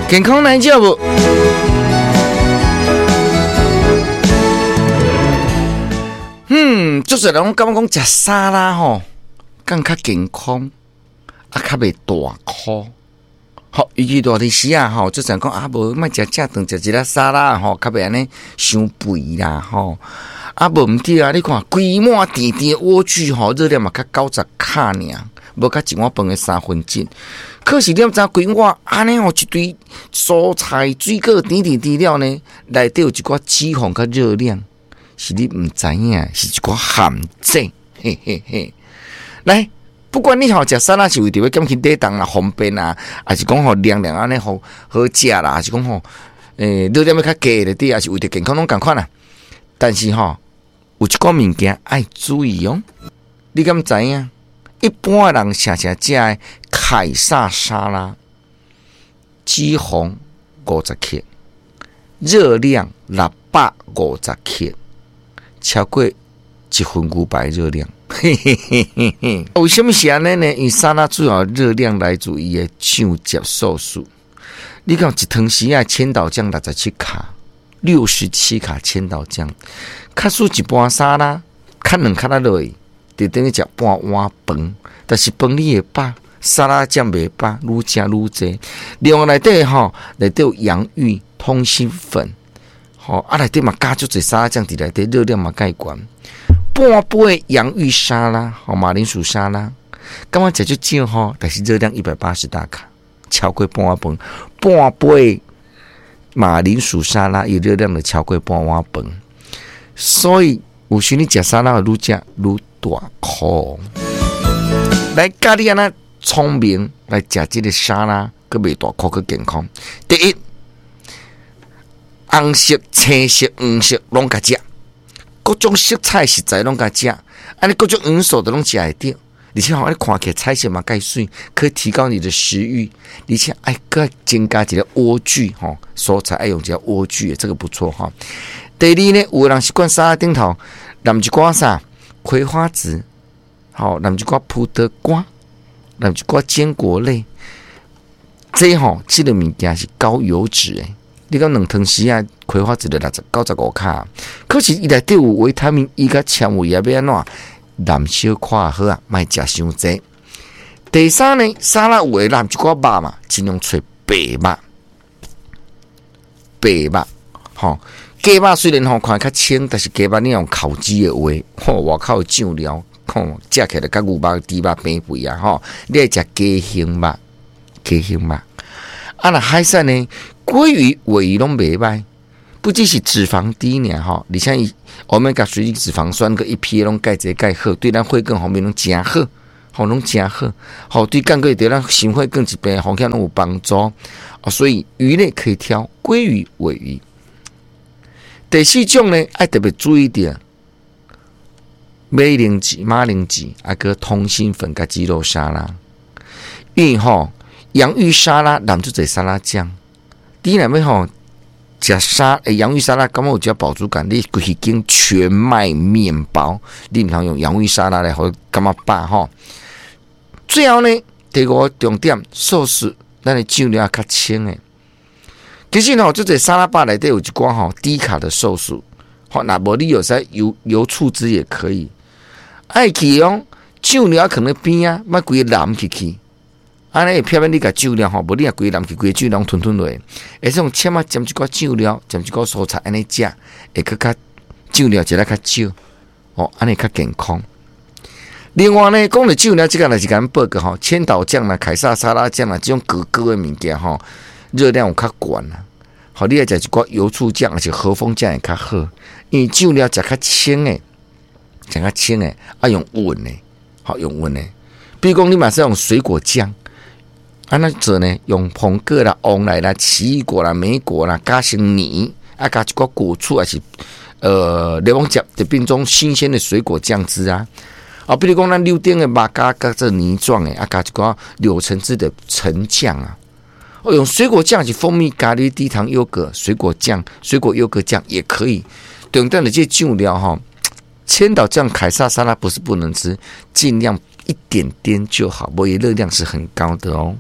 健康來食無？足濟人攏感覺講食沙拉吼，敢較健康，啊較袂大箍。吼，尤其熱天時啊吼，足濟人講啊無莫食正頓，食一粒沙拉吼，較袂按呢傷肥啦吼。啊無毋對啊，你看規碗甜甜的萵苣吼，熱量嘛較90卡爾，無較一碗飯的三分之一。可是你毋知規碗按呢吼，一堆蔬菜水果甜甜甜了呢，內底有一寡脂肪佮熱量，是你毋知影，是一寡陷阱。嘿嘿嘿，來。不管你吼食沙拉是為著欲減輕體重啦、方便啊，抑是講吼涼涼按呢好好食啦，抑是講吼，熱量欲較低的對，抑是為著健康攏仝款啦。但是吼，有一寡物件愛注意哦。你敢知影？一般人常常食的凱撒沙拉，脂肪50克，熱量650克，超過一份牛排熱量。嘿嘿嘿嘿嘿，為什麼是按呢呢？因為沙拉主要熱量來自伊的醬汁素食。你講一湯匙仔千島醬67卡，67卡千島醬，假使一盤沙拉，較兩卡仔落去，就等於食半碗飯。但是飯你會飽，沙拉醬袂飽，愈食愈濟。另外內底吼，內底有洋芋、通心粉，吼啊內底嘛加足濟沙拉醬佇內底，熱量嘛蓋懸。半杯洋芋沙拉，吼馬鈴薯沙拉，感覺食足少吼，但是熱量180大卡，超過半碗飯。半杯馬鈴薯沙拉，伊熱量就超過半碗飯。所以有時你食沙拉會愈食愈大箍。來教你按怎聰明來食這個沙拉，閣袂大箍，閣健康。第一，紅色、青色、黃色攏共食。各種色彩食材攏共食，按呢各種營養素都攏食會著，而且吼，你看起來彩色嘛蓋媠，可以提高你的食慾，而且愛閣增加一個萵苣吼，蔬菜愛用一個萵苣，這個不錯吼。第二呢，有的人習慣沙拉頂頭淋一寡啥葵花籽，吼，淋一寡葡萄乾，淋一寡堅果類，這吼，這個物件是高油脂的。你講2湯匙仔葵花籽就95卡，可是伊內底有維他命 E 佮纖維啊，欲按怎淋小可好啊，莫食傷濟。第三呢，沙拉有的淋一寡肉嘛，盡量揣白肉，白肉，吼，雞肉雖然吼看較清，但是雞肉你用烤雞的話，吼，外口的醬料，吼，食起來佮牛肉、豬肉平肥啊，吼，你愛食雞胸肉，雞胸肉。啊，若海產呢？鮭魚、鮪魚攏袂䆀，不只是脂肪低爾吼，而且伊歐米伽三脂肪酸佮 EPA 攏蓋濟蓋好，對咱血管方面攏誠好，吼攏誠好，吼對降過對咱心血管疾病風險攏有幫助。哦，所以魚類可以挑鮭魚、鮪魚。第四種呢，愛特別注意著，馬鈴薯、馬鈴薯啊，閣通心粉佮雞肉沙拉，因為吼洋芋沙拉淋足濟沙拉醬。你若欲吼食洋芋沙拉，感覺有遮飽足感？你規間全麥麵包，你毋通用洋芋沙拉來予感覺飽吼。最後呢，第五個重點，素食咱的醬料較清的。其實吼，這濟沙拉吧內底有一寡吼低卡的壽司，吼，若無你有使油油醋汁也可以。愛去用醬料囥佇邊仔，莫規个淋去去。按呢會避免你共醬料吼，無你若規淋去，規个醬料吞吞落。會使用籤仔沾一寡醬料，沾一寡蔬菜，按呢食，會閣較醬料食得較少，哦，按呢較健康。另外呢，講著醬料，這個若是共報告吼，千島醬啦、凱撒沙拉醬啦，這種高高的物件吼，熱量有較懸啦。好，你愛食一寡油醋醬，抑是和風醬會較好，因為醬料食較清的，食較清的，啊用勻的，好用勻的。比如講，你嘛使用水果醬。按怎做呢？用蘋果啦、旺來啦、奇異果啦、莓果啦，加成泥，啊，加一寡果醋，抑是檸檬汁，就變種新鮮的水果醬汁啊。啊，比如講咱柳丁的肉加加做泥狀的，啊，加一寡柳橙汁的橙醬啊。哦，用水果醬是蜂蜜咖喱低糖優格水果醬、水果優格醬也可以。重點的這醬料吼，千島醬凱撒沙拉不是不能吃，盡量一點點就好，不過熱量是很高的哦。